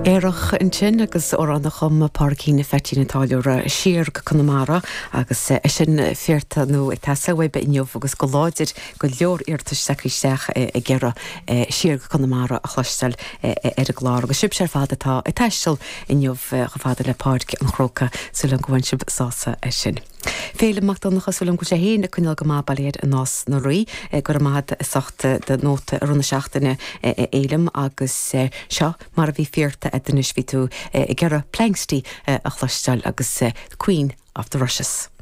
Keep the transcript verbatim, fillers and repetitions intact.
Aerach ansin agus amhrán a chum Pádraigín Pheaitín an Táilliúra siar go Conamara agus é sin fíorta nó ag teastáil uaibh inniu agus go láidir go leor iarratais isteach ag iarraidh siar go Conamara a chloisteáil ar an gclár agus sibhse ar fad atá ag taisteal inniu chomh fada le Páirc an Chrócaigh súil agam go bhfuil sibh sásta é sin. Féilim Mac Donncha súil agam go sé féin ag coinneáil go maith bail i Nás na Rí go raibh maith as ucht do nóta i rith na seachtaine Fhéilim agus seo mar a bhí fíorta a d'inis bhí tú ag iarraidh Planxty a chloisteáil agus Queen of the Rushes.